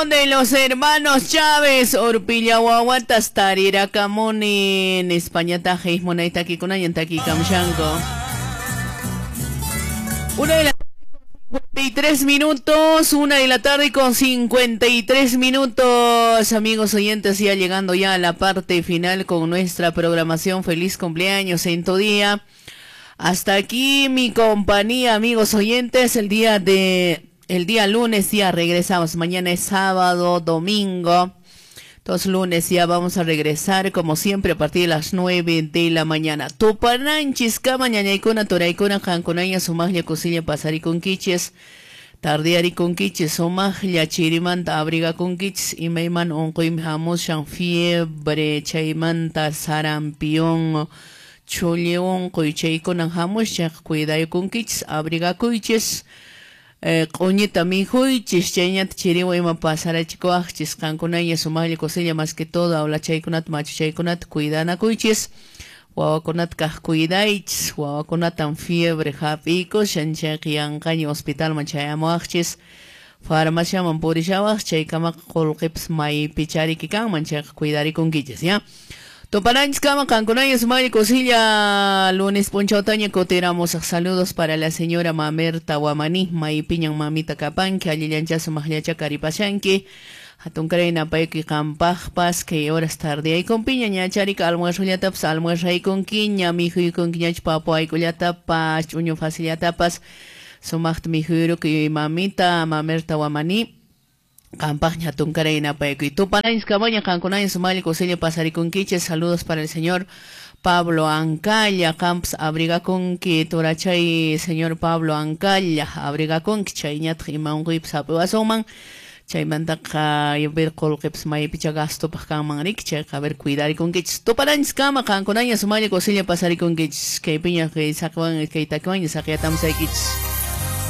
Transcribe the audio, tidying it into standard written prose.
Canción de los hermanos Chávez, Urpilla wawatas tarirakamuni, en España tajis munaytakikunañan takikamshanko. Una de las 53 minutos, 1 de la tarde con 53 minutos, amigos oyentes, ya llegando ya a la parte final con nuestra programación. Feliz cumpleaños en tu día. Hasta aquí mi compañía, amigos oyentes, el día lunes ya regresamos. Mañana es sábado, domingo. Todos lunes ya vamos a regresar, como siempre, a partir de las 9 de la mañana. Tupananchis, kama ñañaykuna, turaykuna, qankunaña, sumaqlla kusilla pasarikunkichis, tardiarikunkichis, sumaqlla chirimanta abrigakunkichis, imayman unquymi hamushan, fiebre, chaymanta, sarampión, chulli unquy, chaykunan hamushan, cuidaykunkichis, abrigakuychis. Q'uñita mikhuychis, chayñata chiriwan ima pasarachikuwaqchis, qankunaña sumaqlla kusilla más que todo awlachaykunata machuchaykunata cuidanakuychis, wawakunata kaq cuidaychis, wawakunatan fiebre hap'ikushan, chayqa yanqaña hospitalman chayamuwaqchis, farmaciaman purishawaq, chaykamaqa qullqipas maypichariki kanman, chayqa cuidarikunkichis, ya. Tupananchis kama qankunaña sumaqlla kusilla lunes p'unchawtaña kutiramusaq. Saludos para la señora Mamerta Wamani, maypiñan mamita kapanki, allillancha sumaqllacha karipashanki. Hatunkaray napayki qampaqpas kay horas tardeyaykunpiña ñacharika almuerzollatapas almuerzaykunkiña, mikhuykunkiñachu papuaykullatapas, ch'uñu facillatapas, sumaqta mikhuyrukuy mamita Mamerta Wamani. Qampaqña hatunkaray napaykuy. Tupananchis kamaña qankunaña sumaqlla kusilla pasarikunkichis. Saludos para el señor Pablo Ancalla, qampas abrigakunki turachay señor Pablo Ancalla, abrigakunki chayñataq ima unquypas hap'iwasunman, chaymantaqa ver qullqipas maypicha gastopaq kanman riki, chayqa a ver cuidarikunkichis. Tupananchis kama qankunaña sumaqlla kusilla pasarikunkichis. Kaypiña kay saqiwan kay takiwanña saqiyatamusaykichis.